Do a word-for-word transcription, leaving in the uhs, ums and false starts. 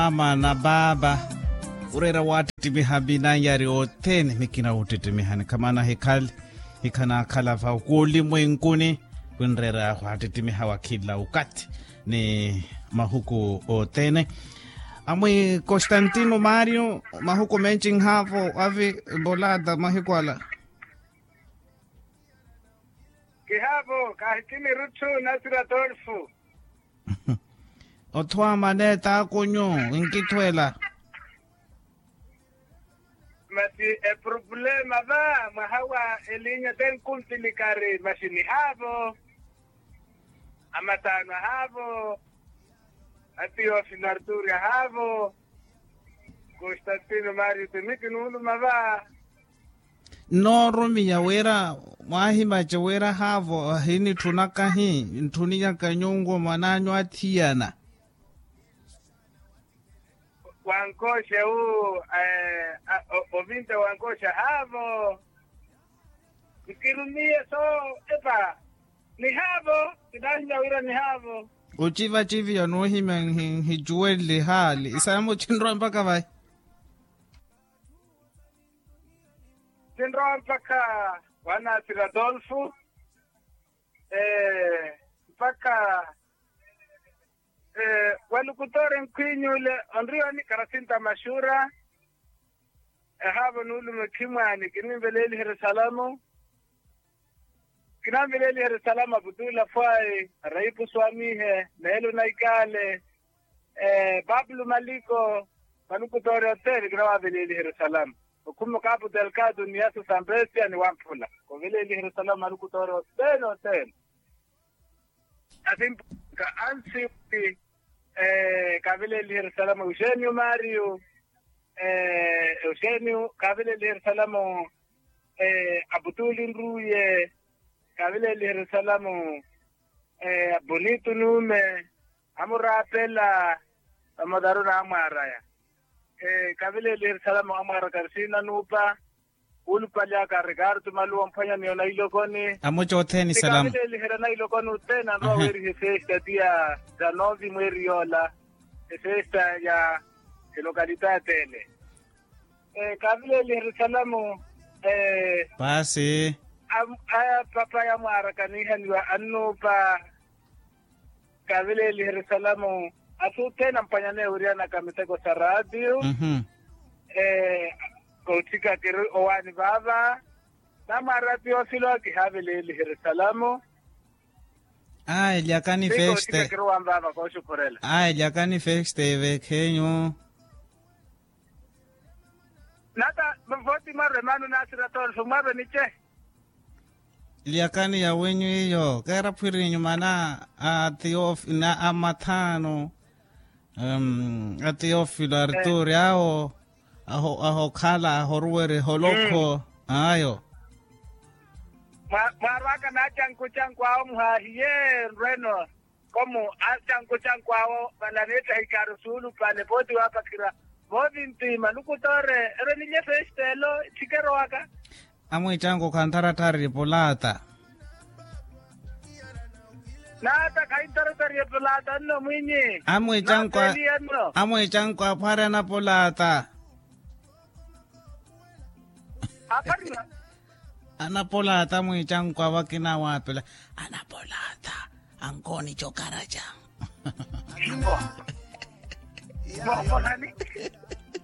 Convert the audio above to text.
Mama na baaba, oreera waattittimiha minanyari othene mikina wuttittimiha nikhamana hikhale, hikhanaakhala va khulimwenkuni, khwinreera waattittimiha wa khila okathi ni mahuku othene. Amwi constantino mario, mahuku menci nhaavo avi mbolata mahiku ala. Kihaavo kaahikini rutthu nasira tolfu. Othwamane taakunyu, nkithwela. Masi epurupulema va mwaha wa elinya tenkumpilikari masi nihaavo. Amataano ahaavo. Atiyofi narturi ahaavo. Konstantino mario temiki nuuluma va. Nnoorumiya wira, mwaahimace wira haavo ahinitthunaka hi ntthuniyaka nyuwo mwan'anyu athiyana. Wankooxa wu ovinta wankooxa haavo. Nkirumiye so epa nihaavo. Kinahimya wira nihaavo. Ocivacivi yanuuhimya nhi nhicuwenle haali isaya mucinrwa mpakha vayi. Sinrowa mpakha wanasira adolfu. Mpakha walukutore nkhwinyule onriwani karasinta maxura. Ehaavo nuulume khimwaani kininveleeliherye salamu. Kinanveleeliherye salamu aputula fwayi raipu swamihe neelo naikaale. Pablo maliko. Malukutoori othene kinawaveleeliherya salamu. Okhuma okapu delkado ni yasu sampestia ni wamphula. Kuveleeliherya salamu malukutoori othene othene. Asimpuka ansi wi kaveleeliherya salamu euxenio mario. Euxenio kaveleeliherya salamu. Aputuli nruye kaveleeliherya salamu. Bonito nuume amuraapela. Vamotaru naamwaaraya. Kaveleeliherya salamu amwaara karisina nuupa. Wuulupali aka rikartu maluwa omphwanya miyo nailokoni. Amuca othene salamu. Kaveleeliherya nailokoni othene anrowa weeriha efesta tiya. Za novi mweeri yoola efesta ya elokalita ya tele. Kaveleeliherya salamu. Paasi. Aya papa yamwaara kanihaniwa annupa. Kaveleeliherya salamu. Asuthene ampwanyaneya wiriyanaka miteko sa raatiyo. Koothika kiri owaani vaava. Namwaara tiyoofilo kihaveleeliherya salamu. Aa elyakani feste. Koothika kiri owaani vaava kooxukhurela. Aa elyakani feste evekhenyu. Nata voti mwarwe mano nasira tolfo mwarwe nice. Lyakani ya wenyu iyo keera phwirinyu mana a teofilo a mathaano. A teofilo arturi awo ahokhala ahoruwere holokho ayo. Mwarwaka nacankucanku awo muhaahiye nrweno. Komu acankucanku awo vananeettahi kaaru suulupale pooti waapakhira. Voovintima lukutoore ero nilye festelo ithikero waka. Amwiicanku khantharatthari pulaata. Naata khantharatthari pulaata nno mwinyi. Amwiicanku amwiicanku aphwari anapulaata. Aphwari anapulaata amwiicanku awo akina awaapela. Anapulaata ankooni cokaraca. Mwaapolani.